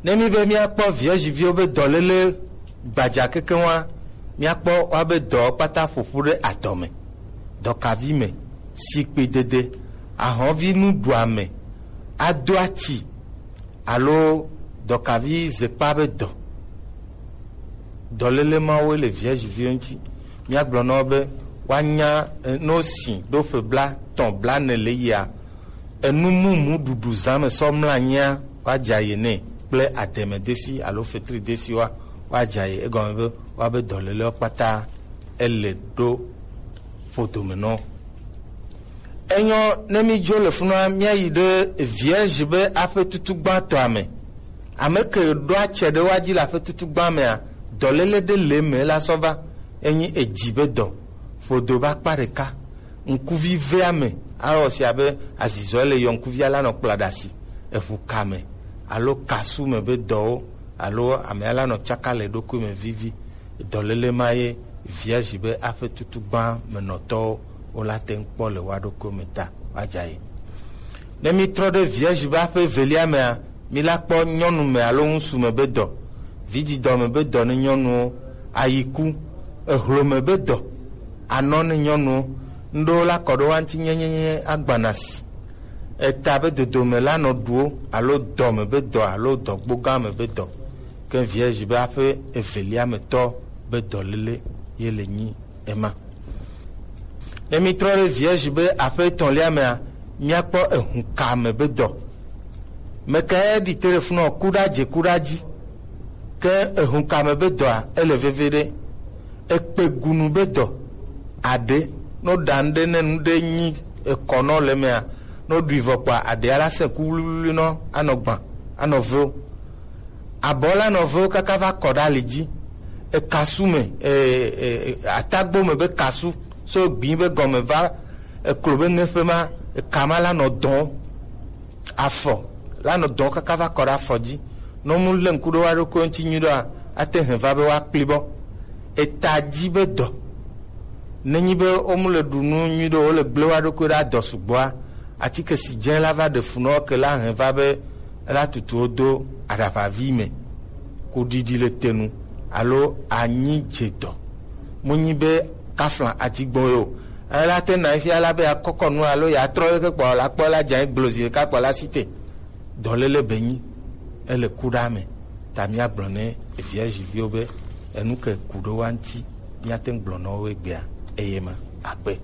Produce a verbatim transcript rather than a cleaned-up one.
Ne mi be miakpɔ vierge viwo be dɔlele gbadza kekeŋ wa, miakpɔ woabe dɔwo kpata ƒoƒu ɖe adɔ me, dɔkavi me, sikpedede, ahɔnvi nuɖuame, ado atsi, alo dɔkavi zekpa be dɔ. Dɔlele mawoe le vierge viwo ŋuti. Míagblɔ na wo be woanya, eh, ne wosi ɖo ƒe blatɔ̃, blaene le yia, enu mumu ɖuɖu zã me sɔ mlɔ anyia, woadza ye nɛ kple ademedesi alo fetridesi wa, woadza ye. Egɔme be woabe dɔlelewo kpata ele ɖo ƒodome nɔ. Enyɔ ne mi dzo le funua, míayi ɖe vierge be aƒe tutu gbãtɔa me. Ame ke ɖoa tse ɖe woa dzi le aƒe tutu gbã mea, dɔlele ɖe le me la sɔ va, enyi edzi be dɔ, ƒodo be akpa ɖeka. Ŋkuvi ve ame, awɔ si abe azizɔ le yɔ ŋkuvia la nɔ kpla ɖe asi, eʋu ka me, alo kasu me be dɔwo, alo amea la nɔ tsaka le eɖokui me vivi. Dɔlele ma ye vierge be aƒe tutu gbã me nɔtɔwo wo la te ŋu kpɔ le woa ɖokui me ta woadza ye. Ne mi trɔ ɖe vierge be aƒe evelia mea, mi la kpɔ nyɔnu me alo ŋusu me be dɔ, vidzidɔ me be dɔ ne nyɔnuwo, ayiku, ehlome be dɔ, anɔ ne nyɔnuwo, ŋɖewo la kɔ ɖo wa ŋuti nyenyenye agbana si. Eta be dodome la nɔ ɖuwo alo dɔ me be dɔ alo dɔgboga me be dɔ. Ke vierge be aƒe evelia me tɔ be dɔlele ye le nyi ema. Ne mi trɔ ɖe vierge be aƒe etɔ̃lia mea, míakpɔ ehunka me be dɔ. Meka ya ɖi te ɖe funɔ ku ɖa dze ku ɖa dzi. Ke ehunka me be dɔa, ele veve ɖe. Ekpe gunu be dɔ. Aɖe, no ɖa ŋɖe ne nu ɖe nyi ekɔ nɔ le mea, no ɖui vɔ kpa aɖea la se ku wluwlui nɔ anɔ gbã, anɔ veo. Abɔ la nɔ vewo kaka va kɔ ɖe ali dzi. Ekasu me, e, e, e, atagbo me be kasu, so gbi be gɔme va eklo be ŋeƒe ma, eka ma la nɔ dɔn. Afɔ la nɔ dɔn kaka va kɔ ɖe afɔ dzi. Ne mu le ŋku ɖe wa ɖokui ŋuti nyui ɖoa, ate hɛn va be wa kpli bɔ. Eta dzi be dɔ. Nenyi be wo mu le ɖu nu nyui ɖe, wo le gble wa ɖokui ɖe adɔ sugbɔa, atike si dze la va ɖe fu nɔ ke la hɛn va be ela tutu wo do aɖaʋavi me, ko ɖiɖi le te nu, alo anyi dze dɔ. Mu nyi be kafla ati gbɔn yo. Ela te na fia la be ya kɔkɔ nu alo ya trɔ ke kpɔ la kpɔ la dze gblo zi ka kpɔ la si te. Dɔlele be nyi, ele ku ɖa me. Ta mía gblɔ ne vierge viwo be enu ke ku ɖo wa ŋuti, mía te ŋu gblɔ na wo egbea, eye ma akpe.